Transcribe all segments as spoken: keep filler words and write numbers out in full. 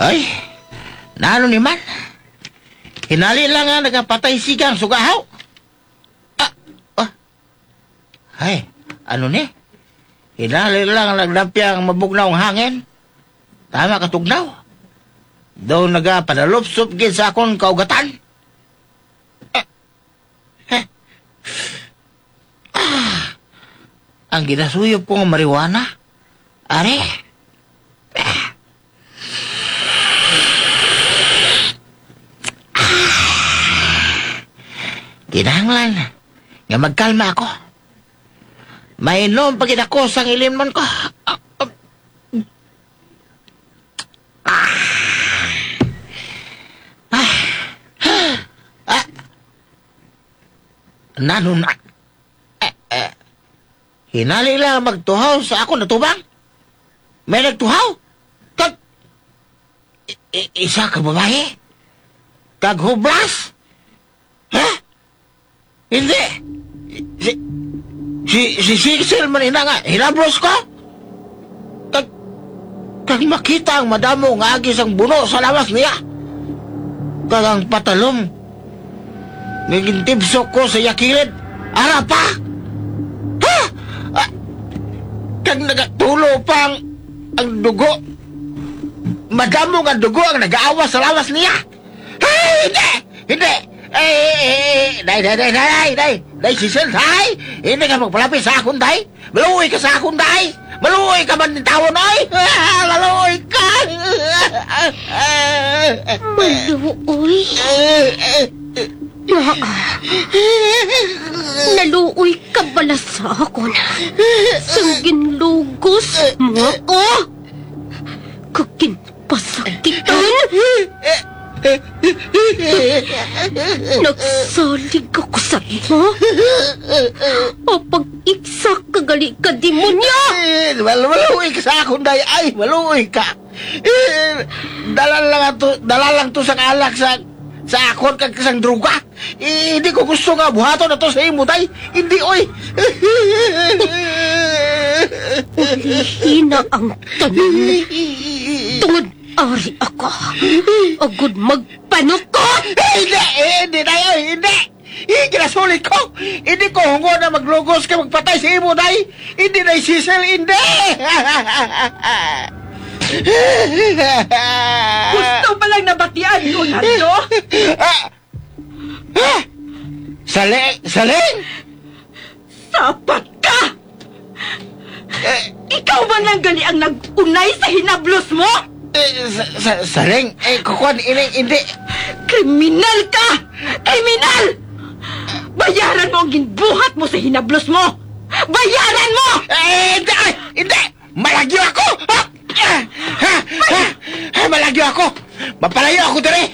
Ay, nano ni man? Hinali lang nga nagapatay sigang sugahaw. Ah, ah. Ay, ano ni? Hinali lang nagdapyang mabugnaw ang hangin. Tama ka tugnaw. Daw nagapadalupsop gid sa akon kaugatan. Ah, ah. Ang ginasuyop ko nga marijuana. Ari. Kinahanglan nga magkalma ako. Mainom pa gid ako sang ilimnon ko. Ah, ah, ah, ah. Nano na? Eh, eh. Hinali lang magtuhaw sa akon atubang. May nagtuhaw? Kag i-, i-, isa ka babayi? Kag hublas? Ha? Hindi. Si, si, si Cecil man ina nga hinablos ko. Kag, kag makita ang madamo nga agi sang buno sa lawas niya. Kag ang patalom nga gintibsok ko sa iya kilid, ara pa. Ha? Ah, kag nagatulo pa ang, ang dugo. Madamo nga dugo ang nagaawas sa lawas niya. Ay, hindi! Hindi! Eh, eh, eh, eh, day, day, day, day, day, day, Cecil, day! Hindi ka magpalapit sa akon, day! Maluoy ka sa akon, day! Maluoy ka man tawon, oy! Ah, maluoy ka! Maluoy? Naa, naluoy ka bala sa akon sang ginlugos mo ako? Kag gin- Pasakitan! Nagsalig ako sa imo. O pag-igsa ka gali ka, demonyo! Eh, mal-, maluoy ka sa akon, day. Ay, maluoy ka. Eh, dala lang ato, dala lang to sa alak sa, sa akon kag sang droga. Eh, hindi ko gusto nga buhaton ato sa imo, day. Hindi, oy. Ulihi na ang tanan. Tungod ari ako, agud magpanukot. Eh, hindi, eh, hindi, day, oy, hindi. Eh, ginasulit ko. Hindi ko hungod na maglugos kag magpatay sa imo, day. Hindi, day Cecil, hindi. Gusto pa lang nabatian ko, Nardo. Ah, Ha? Saling? Saling? Sapat ka! Eh, ikaw man lang gali ang nag-unay sa hinablos mo! Eh, sa, sa, saling? Eh, kukuan, ini, hindi. Kriminal ka! Kriminal! Bayaran mo ang ginbuhat mo sa hinablos mo! Bayaran mo! Eh, hindi, ay, hindi! Malagyo ako! Ha? Ha? Ha? Ha? Malagyo ako! Mapalayo ako diri!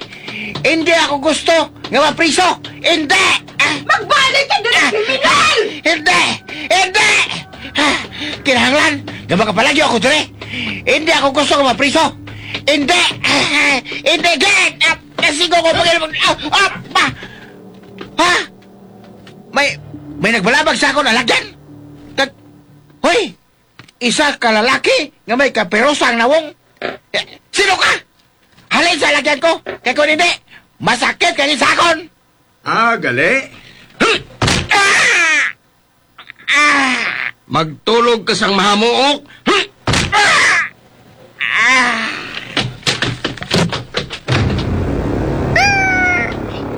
Hindi ako gusto nga mapriso! Hindi! Ah! Magbalik ka diri, ah, kriminal! Hindi! Hindi! Ah! Kinahanglan nga makapalagyo ako diri! Hindi ako gusto nga mapriso! Hindi! Ah! Hindi! Gid! Ah! Kasigo ko pag ah! Ah! Ah! Ha? May, may nagbalabag sa akon alagyan! Kag, hoy! Isa ka lalaki nga may kapirosa ang nawong. Eh, sino ka? Halin sa lagyan ko, kay kung hindi, masakit ka sa akon. Ah, gali? Ah! Ah! Magtulog ka sang mahamuok. Ah! Ah!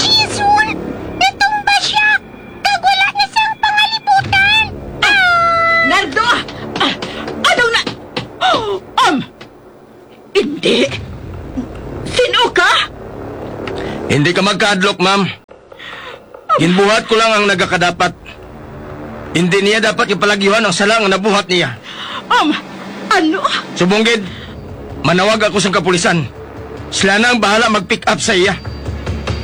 Jason! Natumba siya! Kag wala na siyang pangalibutan! Ah! Nardo! Ah! Ano na? Um! Hindi! Sino ka? Hindi ka magkahadlok, ma'am. Ginbuhat ko lang ang nagakadapat. Hindi niya dapat ipalagyuhan ang sala nga nabuhat niya. Um, ano? Subong gid, manawag ako sa kapulisan. Sila na ang bahala mag-pick up sa iya.